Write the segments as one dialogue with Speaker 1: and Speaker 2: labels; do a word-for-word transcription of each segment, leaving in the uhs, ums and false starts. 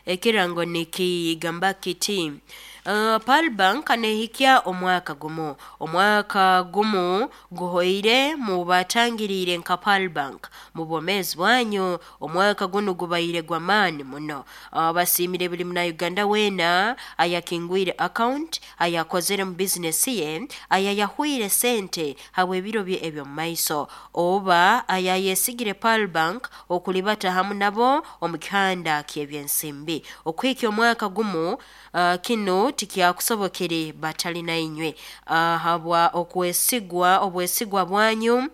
Speaker 1: Ekirango nikigamba kiti: uh, Pearl Bank nehikya omwaka gumu. Omwaka gumu guhoire mubatangiriire nka Pearl Bank mubwomeezi bwanyu. Omwaka gunu gubaire gw'amaani muno. uh, basiimire buli Munauganda weena ayakingwire account, ayakozere mu bizinesi ye, ayayahwire sente habw'ebiro bye eby'omumaiso, oba ayayesigire Pearl Bank okulibata hamu nabo omu kihanda ky'ebyensimbi. Okuhikya omwaka gumu, uh, kinu tikyakusobokere batali nainywe. uh, habwa okwesigwa, obwesigwa bwanyu,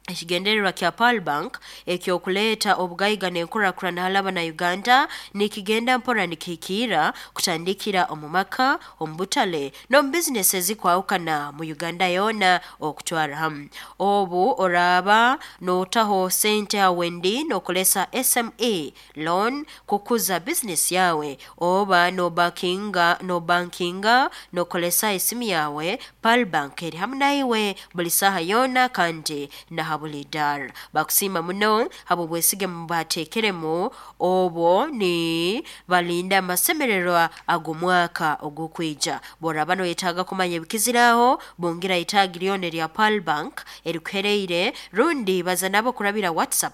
Speaker 1: ekigendererwa kya Pearl Bank eky'okuleeta obugaiga n'enkurakurana hali Abanauganda nikigenda mpora nikihikiira, kutandikira omu maka, omu butale n'omu bizinesi ezikwahukana mu Uganda yoona okutwarra hamu. Obu oraaba nootaho sente ha Wendi nookozesa S M E loan kukuza bizinesi yawe, oba nobankinga nobankinga nookozesa esimu yawe, Pearl Bank eri hamu naiwe buli saaha yoona kandi na ha buli idaara. Bakusiima muno habw'obwesige mubateekeremu, obwo ni balinda amasemererwa ag'omwaka ogukwija. Bw'oraaba noyetaaga kumanya ebikiziraho, bungira itaagi lyona erya Pearl Bank erikuheriire, rundi baza nabo kurabira WhatsApp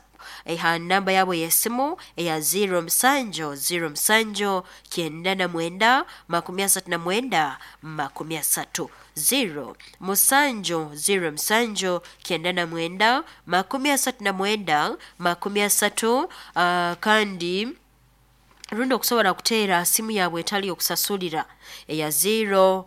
Speaker 1: ha namba yabo y'esimu eya zero musanju zero musanju kyenda na mwenda makumi asatu na mwenda makumi asatu, zero musanju zero musanju kyenda na mwenda makumi asatu na mwenda makumi asatu. uh, kandi rundi okusobora kuteera simu yabwe etali okusasulira eya zero.